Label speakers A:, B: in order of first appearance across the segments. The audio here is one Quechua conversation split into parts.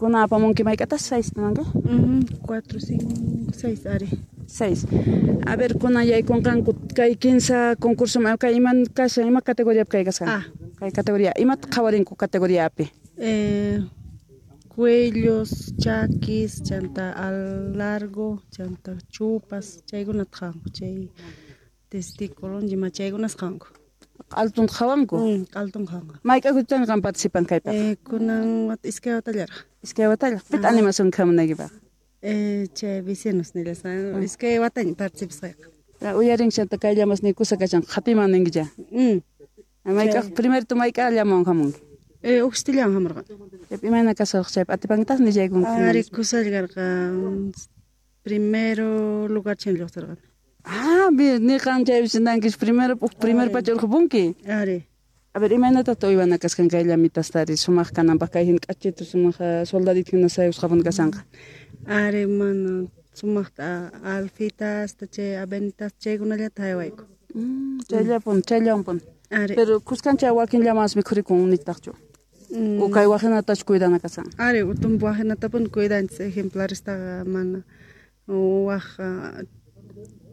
A: Kuna apamunki mayk'atas 6 nanki?
B: 4, 5, 6 ari.
A: 6. A ver, kunan yaykunqanku kay 15 concurso kay iman kashan, ima categoriapi kay kashan?
B: Ah.
A: Kay categoría, imata qhawarinku categoriapi?
B: Cuellos, chakis, chanta al largo, chanta chupas, chaykunata qhawanku, chay testículo, ima chaykunas qhawanku.
A: Q'altun qhawanku?
B: Q'altun qhawanku.
A: Mayk'a kutitan qan participan kaypaq?
B: Kunan wata iskay watallaraq.
A: Iskay watallaraq. Pita animación khamunaykipaq?
B: Chay vecinos nillasqa, iskay wataña participasqayqa.
A: Uyarin chanta kay llamas nikusa kashan qhatiman ninkicha. Mayk'a primero tu mayk'a llaman hamunki?
B: Uqstillan hamurqan.
A: Chaypi imayna kasarqa chaypi atipankitaq nillaykunki.
B: Ari kusallkarqa primero lugar chin lluqsirqan.
A: Ah, bien, niqan chaypi nankis primero primer pacha urqupunki.
B: Ari.
A: A ver, imaynataq uywana kasqan kay llamitastari sumaq kananpaq kay hina k'achitu sumaq soldadito hina sayusqapuni kashanqa?
B: Ari, mana sumaqta alfitasta chay avenitas chaykunallata haywayku.
A: Chayllapun, chayllawanpun.
B: Ari.
A: Pero kuskancha wakin llamas mikhurikun nitaqchu. O kay wajinatachu cuidana kashan?
B: Ari, tumpa wajinatapuni cuidanchis ejemplaristaqa mana waj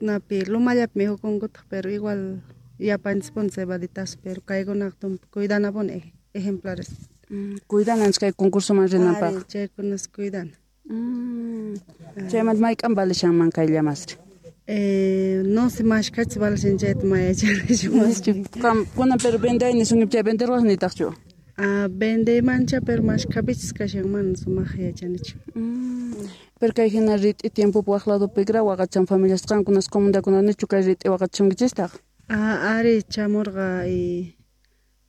B: napi lumallapi mihukunkutaq, pero igual yapanchispuni cebaditas, pero kaykunaqa tumpa cuidanapuni ejemplares.
A: Cuidananchis kay concursoman rinanpaq.
B: Ari, chaykunas cuidana.
A: Chaymanta mayk'an valishanman kay llamasri?
B: No sé mashkachis valishan chayta mayachanichu mas.
A: Kunan pero vendey nisunki chay venderwas nitaqchu?
B: Ah, vendeymancha pero mashkhapichis kashan mana sumaq yachanichu.
A: Pero kay hina rit'i tiempopi waq ladopi gra waqachan familias qankunas comunidadkuna nichu kay rit'i waqachunkichistaq?
B: Ah, ari chamurqa y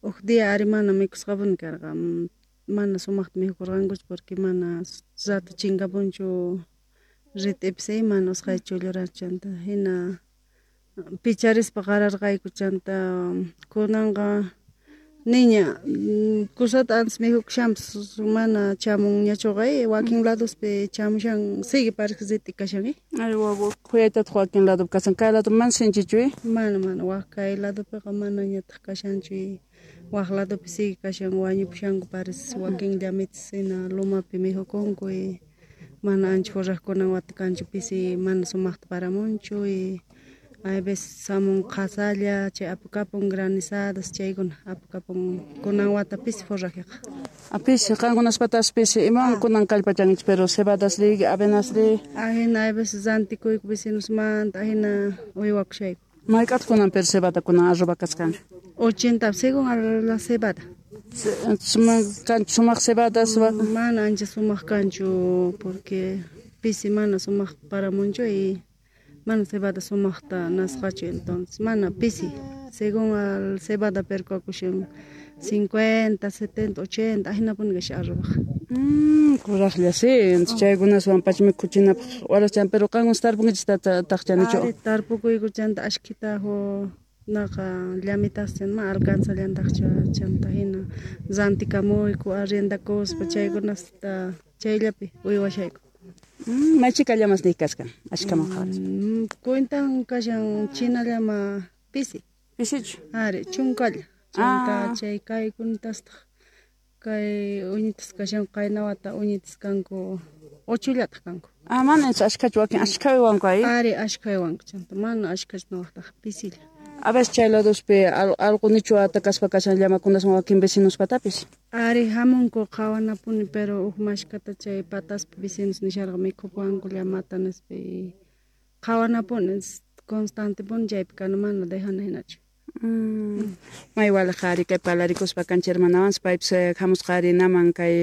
B: uj día ari mana mikusqapuni karqa, mana sumaqta mikhurqankuchu porque mana rato chinkapunchu rit'ipis mana usqhayta chulluranchu chanta hina picharispa qararqayku chanta kunanqa niña kusata antes mihukushanpas mana chamunñachuqa wakin ladospi chamushan sigue parece rit'i kashan.
A: Ay wawa khuyaytataq wakin ladopi kashan kay lado mana sinchichu?
B: Mana mana waq kay ladopiqa manañataq kashanchu waq ladopi sigue kashan wañupushanku parece wakin llamitas hina lumapi mihukunku y mana ancha forrajkunan wata kanchu pisi mana sumaqta paramunchu y hay veces samun qhasalla chay apukapun granizadas chaykuna apukapun kunan wata pisi forrajeqa.
A: Pisi qankunaspatas pisi imawan kunan kallpachankichis pero cebadas ri avenas ri?
B: Ahina hay veces rantikuyku vecinosmanta ahina uywakushayku.
A: Mayk'ataq kunan pero cebada kunan arroba kasqanchu?
B: 80 según a la cebada.
A: Sumaq cebadas
B: Mana ancha sumaq kanchu porque pisi mana sumaq paramunchu y mana cebada sumaqta nasqachu entonces mana pisi según al cebada perkakushan 50, 70, 80 ahinapuni kashan arrobaqa.
A: Kuraqlla sí, chaykunaswan pacha mikhuchinapaq warachan pero qankunas tarpunkichis taqchanichu?
B: Ari tarpukuyku chanta ashkhita naqa llamitas ma alcanzallantaqchu chanta hina rantikamuyku arriendakuspa chaykunasta chayllapi uywashayku.
A: Maychika llamas niq kaskan ashkaman qhawarispa?
B: Cuentan kashan china llama pisi.
A: Pisichu?
B: Ari chunkalla. Chanta chay kaykunatastaq kay uñitas kashan qayna wata uñitas kanku 8llataq kanku.
A: Ah, mana ashkhachu wakin ashkha uywanku ay?
B: Ari ashkha uywanku chanta mana ashkhachu nuqtaq pisilla.
A: A veces chay ladospi alqu nichu atakaspa kashan llamakunaswan wakin vecinospatapis?
B: Ari hamunku qhawanapuni pero uj mashkata chay pataspi vecinos nisharqa mikhupuwanku llamata nispa y qhawanapuni constantepuni chaypi kana mana dejana hinachu.
A: May waliq ari kay parlarikuspa kancha hermanawansi paypis hamusqa ari naman kay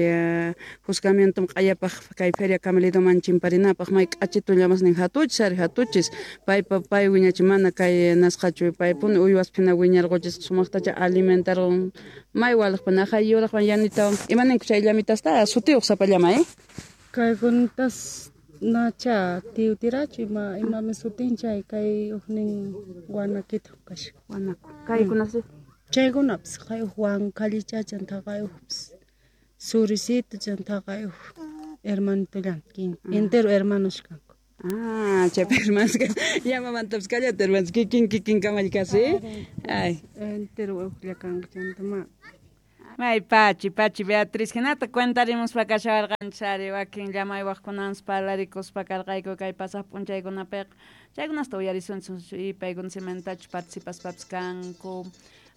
A: juzgamientom q'ayapaq kay feria camelidoman chimparinapaq may k'achitu llamasnin hatuchis ari hatuchis paypa pay wiñachi mana kay nasqachu paypuni uywaspi hina wiñarquchis sumaqtacha alimentarqun may waliqpa naqay yuraqwan yanitawan imaninku chay llamitasta sutiyuq sapa llama
B: Kaykunatas nacha tiwtirachu ima imami sutin chay kay ujnin wanakita kashan.
A: Wanaku. Kaykunas
B: Chaykunapis kay uj wankallicha chanta kay ujpis suricito chanta kay uj hermanitollan entero hermanos kanku.
A: Ah, chaypi hermanos llamamantapis kallata hermanos kikin kikin kamallkasi. Ay.
B: Entero ujlla kanku chanta ma.
A: May pachi, pachi Beatriz, hinata cuentarimuspa kashawarqanchis ari wakin llamaywaqkunanpas parlarikuspa karqayku kay pasaq p'unchaykunapiqa. Chaykunasta uyarisunchis y paykuna cimentachu participaspapis kanku,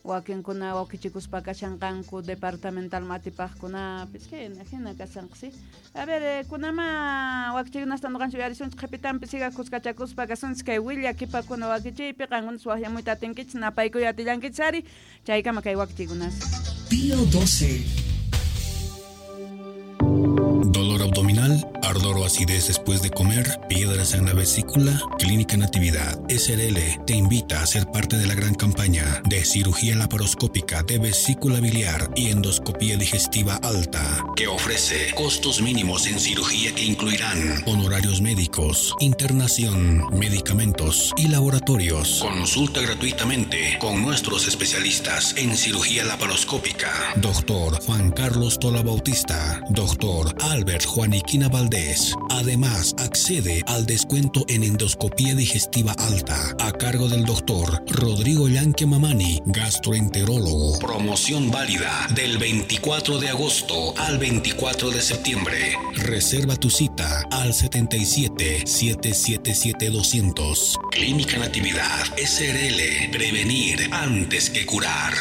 A: wakinkuna wakichikuspa kashanqanku departamental matipaqkunapis, hina hina kashanqa, sí. A ver, kunama wakichikunasta ñuqanchis uyarisunchis qhipitanpi siga kuskachakuspa kasunchis kay willakipakuna wakichiypi qankunas waqyamuyta atinkichis napaykuy atillankichis ari chaykama kay wakichikunas.
C: Pío 12.
D: Dolor abdominal, ardor o acidez después de comer, piedras en la vesícula. Clínica Natividad SRL te invita a ser parte de la gran campaña de cirugía laparoscópica de vesícula biliar y endoscopía digestiva alta, que ofrece costos mínimos en cirugía que incluirán honorarios médicos, internación, medicamentos y laboratorios. Consulta gratuitamente con nuestros especialistas en cirugía laparoscópica. Doctor Juan Carlos Tola Bautista, Doctor Albert Juaniquina Valdés. Además, accede al descuento en endoscopía digestiva alta a cargo del doctor Rodrigo Llanque Mamani, gastroenterólogo. Promoción válida del 24 de agosto al 24 de septiembre. Reserva tu cita al 77 777 200. Clínica Natividad SRL. Prevenir antes que curar.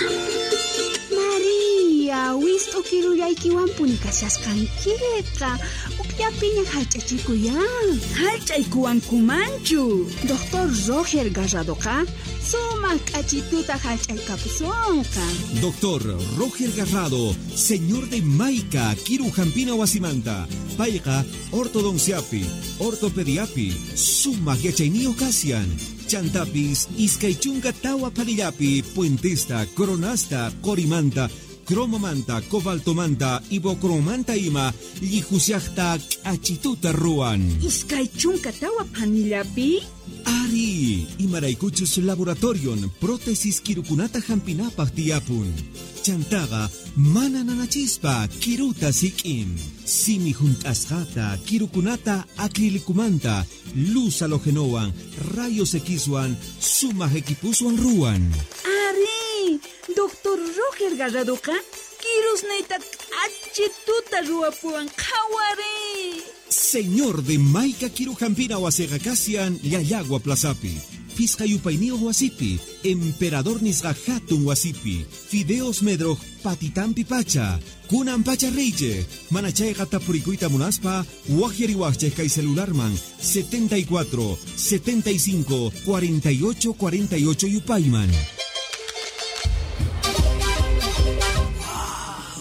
E: María, wist'ukirullaykiwanpuni kashasqankiqa. Ukllapiña hallch'achikuyan.
F: Hallch'aykuwankumanchu.
E: Doctor Roger Garradoqa sumaq k'achituta hallch'aykapusunqa.
G: Doctor Roger Garrado, señor de Maica, Kirujampina wasimanta. Payqa ortodonciapi, ortopediapi, sumaq yachayniyuq kashan. Chantapis, iskay chunka tawa phanillapi, puentesta, coronasta, qorimanta, cromomanta, cobaltomanta, ibocromanta ima, llihusiaqta k'achituta ruwan.
F: Iskay chunka tawa phanillapi?
G: Ari, imaraykuchus laboratorion prótesis kirukunata hampinapaq tiyapun. Chantaqa mana nanachispa kiruta sik'in. Simi hunt'asqata kirukunata acrilicumanta, luz halogenowan, rayos Xwan, sumaq equipuswan ruwan.
F: Ari, Doctor Roger Garradoqa kirusniyta k'achituta ruwapuwan qhawari.
G: Señor de Maica Kirujampina wasiqa kashan Llallagua Plazapi, Pisqa yupayniyuq wasipi, Emperador nisqa hatun wasipi, Fideos Medroj patitampi pacha, kunan pacha riychej, mana chayqa tapurikuyta munaspa, waqyariwaqchej kay celularman 74 75 48 48 yupayman.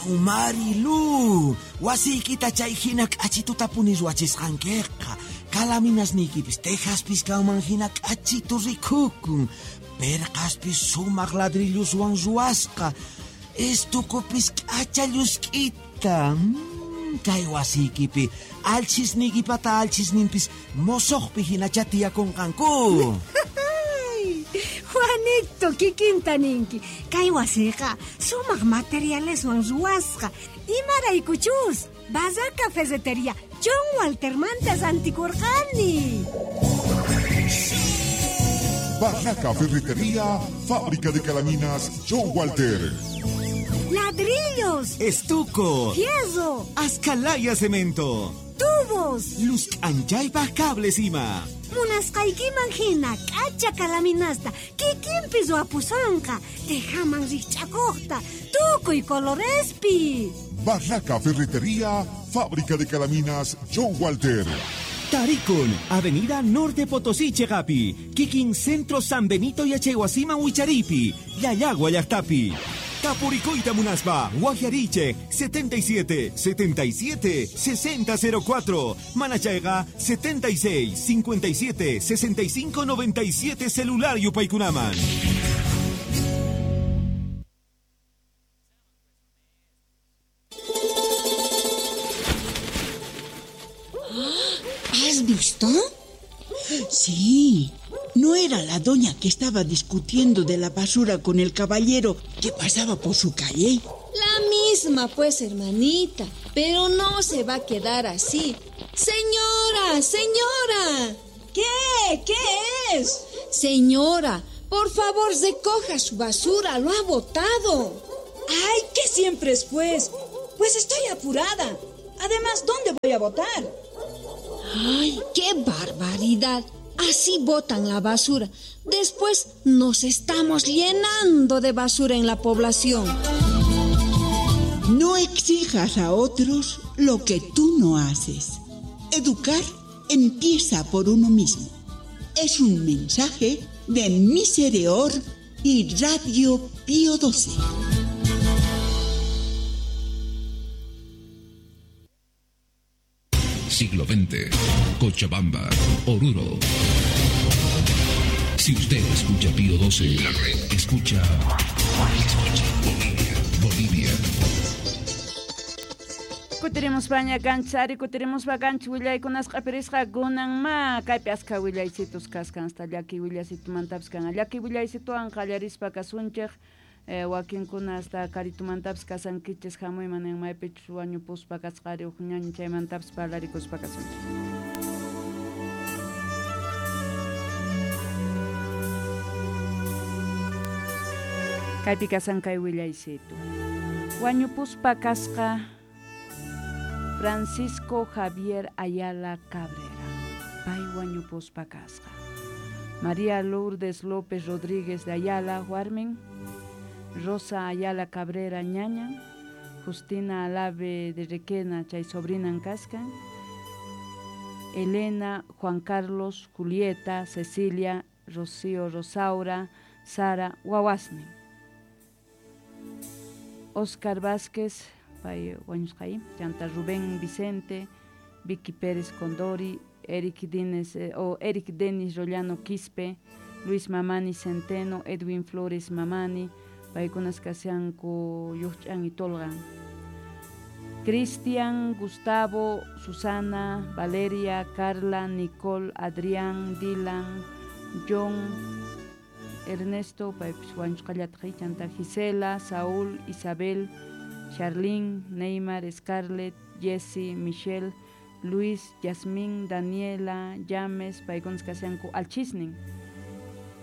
H: Marilu, wasiykita chay hina k'achituta puni ruwachisqankiqa. Kalaminasniykipis tejaspis kanman hina k'achitu rikukun. Perqaspis sumaq ladrilluswan ruwasqa. Estukupis k'acha llusk'ita. Kay wasiykipi alchisniykipata alchisninpis mosoqpi hinacha tiyakunqanku.
I: Juanito, kikinta ninki. Kay wasiqa sumaq materialeswan ruwasqa. Imaraykuchus, Barraca Ferretería John Waltermanta rantikurqani.
J: Barraca Ferretería, fábrica de calaminas John Walter.
I: Ladrillos,
G: estuco,
I: fierro,
G: ascalaya cemento,
I: tubos,
G: luz anchaypaq cables ima.
I: Munasqaykiman hina k'acha kalaminasta kikinpi ruwapusonqa, tejaman rikch'akuqta, tukuy colorespi.
J: Barraca Ferretería, fábrica de calaminas John Walter.
G: Tarikun, Avenida Norte Potosí, Chegapi, Kikin Centro San Benito Yachaywasiman Wicharipi, Llallagua llaqtapi. Tapurikuyta munaspa, Waqyarichej 77 77 6004, Manachayqa 76 57 65 97 celular yupaykunaman.
K: ¿Has visto?
L: Sí. ¿No era la doña que estaba discutiendo de la basura con el caballero que pasaba por su calle?
K: La misma, pues, hermanita. Pero no se va a quedar así. ¡Señora! ¡Señora!
F: ¿Qué? ¿Qué es?
K: Señora, por favor, recoja su basura. Lo ha botado.
F: ¡Ay, qué siempre es pues! Pues estoy apurada. Además, ¿dónde voy a botar?
K: ¡Ay, qué barbaridad! Así botan la basura. Después nos estamos llenando de basura en la población.
L: No exijas a otros lo que tú no haces. Educar empieza por uno mismo. Es un mensaje de Misereor y Radio Pío XII.
D: Siglo XX, Cochabamba, Oruro. Si usted escucha Pío XII, la red escucha. Escucha Bolivia, Bolivia.
A: Kutirimuspaña kanchis ari kutirimuspa kanchis willaykunasqa q'ipirisqa kunanma kaypi askha willaysitus kaskan hasta llaki willasitumantapas kan llaki willaysituwan qallarispa kasunchik wakinkuna hasta karitumantapis kasankichis hamuyman nin maypichus wañupuspa kasqari huk ñañu chaymantapas parlarikuspa kasunchik. Kaypi kasan kay willaysitu. Wañupuspa kasqa Francisco Javier Ayala Cabrera, pay wañupuspa kasqa. María Lourdes López Rodríguez de Ayala, warmin. Rosa Ayala Cabrera ñaña, Justina Alave de Requena chay sobrinan kaskan, Elena, Juan Carlos, Julieta, Cecilia, Rocío, Rosaura, Sara, wawasnin. Oscar Vázquez, pay wañusqay, chanta Rubén Vicente, Vicky Pérez Condori, Eric Dines, o Eric Denis Rollano Quispe, Luis Mamani Centeno, Edwin Flores Mamani, paykunas kashanku lluqch'an y tolqan. Cristian, Gustavo, Susana, Valeria, Carla, Nicole, Adrián, Dylan, John, Ernesto, paypis wañusqallataq, chanta Gisela, Saúl, Isabel, Charlene, Neymar, Scarlett, Jesse, Michelle, Luis, Yasmín, Daniela, James, paykunas kashanku alchisnin.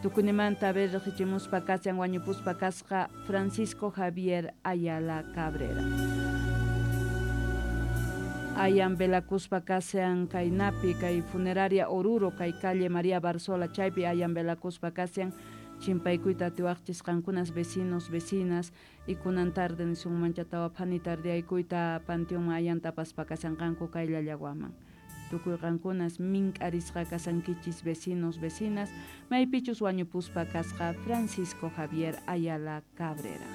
A: Tukunimanta riqsichimuspa kashan wañupuspa kasqa Francisco Javier Ayala Cabrera. Ayan velakuspa kashan kaynapi kay funeraria Oruro kay calle María Barzola chaypi ayan velakuspa kashan chimpaykuyta atiwaqchis qankunas vecinos, vecinas y kunan tarde nisunmancha tawa phani tardeaykuyta panteonman ayanta apaspa kashanqanku kay Llallawaman. Tukuy qankunas mink'arisqa kasankichis vecinos, vecinas, maypichus wañupuspa kasqa Francisco Javier Ayala Cabrera.